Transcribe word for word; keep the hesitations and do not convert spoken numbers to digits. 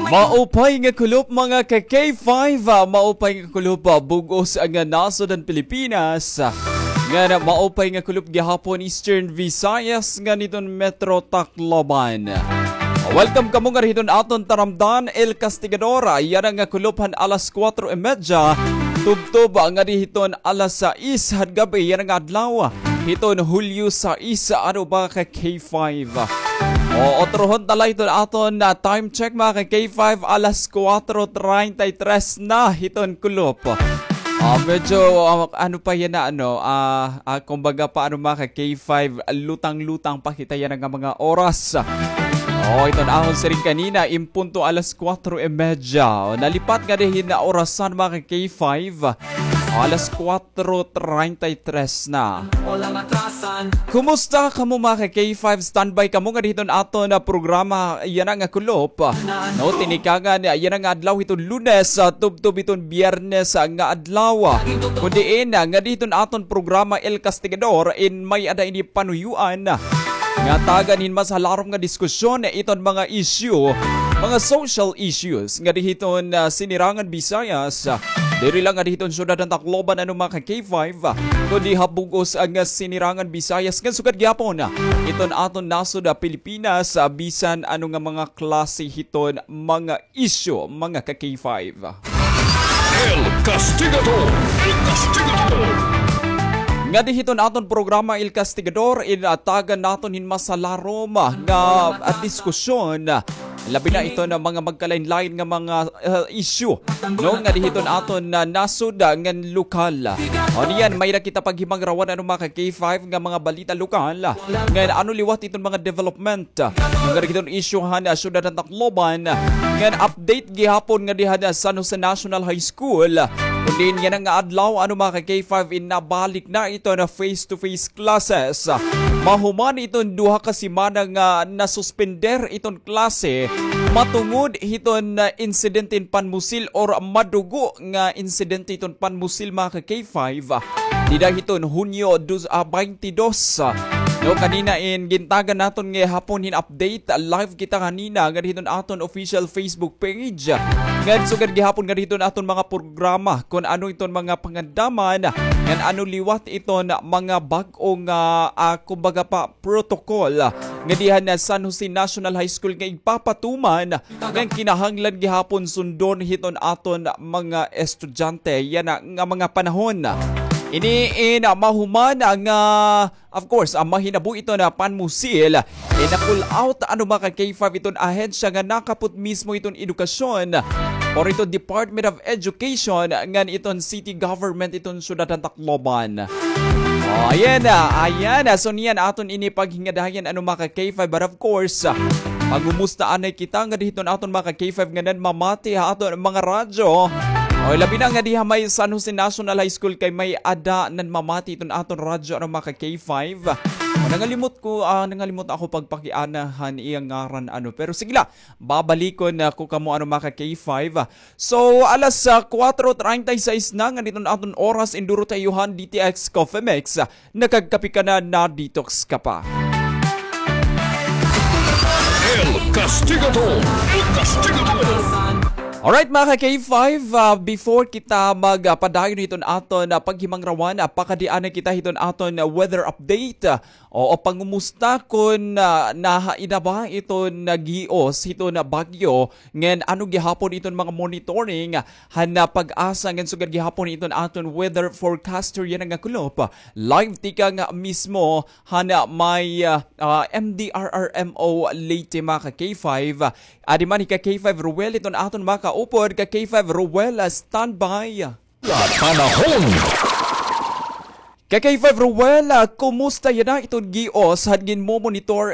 Maupay nga kulop, mga ka K five, ah, maupay nga kulop, ah, bug-os nga nasod han Pilipinas. Ngan maupay nga kulop gihapon Eastern Visayas ngan hiton Metro Tacloban. Welcome kamo ngadi hiton aton taramdan, El Castigador. Yana nga kulop han alas kuwatro y medya. Tubtob ngadi hiton alas sais han gab-i yana nga adlaw. Hiton Hulyo sais, ano, mga ka K five. O, otrohon ta la hiton aton, ah, time check, mga ka K five, alas kuwatro treinta y tres na hiton kulop. Ah, medyo, ah, ano pa yana, ano, ah, ah, kumbaga pa, ano, mga ka K five, lutang-lutang pa kita yana nga mga oras. O, iton ahon siring kanina, in punto alas kuwatro y medya. O, nalipat ngadi hin orasan, mga ka K five. Alas kuwatro treinta y tres na. Kumusta kamo, mga ka K five? Standby kamo ngadi hiton aton, ah, programa yana nga kulop. No, tinikangan yana nga adlaw hiton Lunes, ah, tubtob hiton Biyernes, ah, nga adlaw. Kun diin, ah, ngadi hiton aton programa El Castigador, in may-ada ini panuyuan nga tagan hin mas halarom nga diskusyon iton mga issue, mga social issues ngadi hiton, ah, Sinirangan Visayas. Diri la ngadi hiton syudad han Tacloban, ano, mga ka K five, kundi ha bug-os nga Sinirangan Visayas ngan sugad gihapon hiton aton nasod ha Pilipinas, bisan ano nga mga klase hiton mga isyu, mga ka K five. El Castigador! El Castigador! Ngadi hiton aton programa El Castigador, in, ah, tagan naton hin mas halarom, ah, nga, ah, diskusyon, ah, labi na iton mga magkalain-lain nga mga, ah, isyu, no, ngadi hiton aton, ah, nasod, ah, ngan lokal. O niyan, may-ada kita paghimangrawan, ano, mga ka K five, nga mga balita lokal, ah, ngan ano liwat iton mga development, ah, ngadi hiton isyu han, ah, syudad han Tacloban, ngan update gihapon ngadi han, ah, San Jose National High School. Kun diin yana nga adlaw, ano, mga ka K five, in nabalik na iton face-to-face classes. Mahuman iton duha ka semana nga nasuspender iton klase matungod hiton, ah, insidente hin panmusil or madugo nga insidente hiton panmusil, mga ka K five. Dida hiton Hunyo dos, ah, baynte dos. No, kanina in gintagan naton nga hapon hin update, live kita kanina ngadi hiton aton official Facebook page. Ngan sugad gihapon ngadi hiton aton mga programa, kun ano iton mga pangandaman, ngan ano liwat iton mga bag-o nga, ah, kumbaga pa, protocol, ah, ngadi han San Jose National High School nga igpapatuman ngan kinahanglan gihapon sundon hiton aton mga estudyante yana nga mga panahon. Ini in, ah, mahuman nga, of course, ah, mahinabo iton panmusil, eh, na-call out, ano, mga ka K five, iton ahensya nga nakapot mismo iton edukasyon or iton Department of Education ngan iton city government iton syudad han Tacloban. O, ayan na, ayan na. So, niyan aton ini paghingadayan, ano, mga ka K five. But of course, ah, pangumusta anay kita ngadi hiton aton mga ka K five nga nanmamati ha aton mga radyo. O, labi na ngadi ha may San Jose National High School kay may-ada nanmamati hiton aton radyo, ano, mga ka K five. O, nangalimot ko, ah, nangalimot ako pagpakiana han iya ngaran, ano. Pero sige la, babalikon ako kamo, ano, mga ka K five. So, alas, ah, kuwatro treinta y seis na ngadi hiton aton oras, induro ta iyo han D T X Coffee Mix. Nakagkape ka na, na-detox ka pa. El Castigador! El Castigador! Alright, mga ka K five, ah, before kita magpadayon hiton aton, ah, paghimangrawan, ah, pakadi anay kita hiton aton, ah, weather update. Ah, o, o, pangumusta kon, ah, nahain na ba iton, ah, gios hiton, ah, bagyo ngan ano gihapon iton mga monitoring han, ah, PAGASA ngan sugad gihapon iton aton weather forecaster yana nga kulop. Live tikang mismo han, ah, may, ah, ah, M D R R M O Leyte, mga ka K five. Adi man hi ka K five Ruel iton aton makaupod. Ka K five Ruel, ah, standby. Panahon. Ka K five Ruel, ah, kumusta yana iton gios han ginmomonitor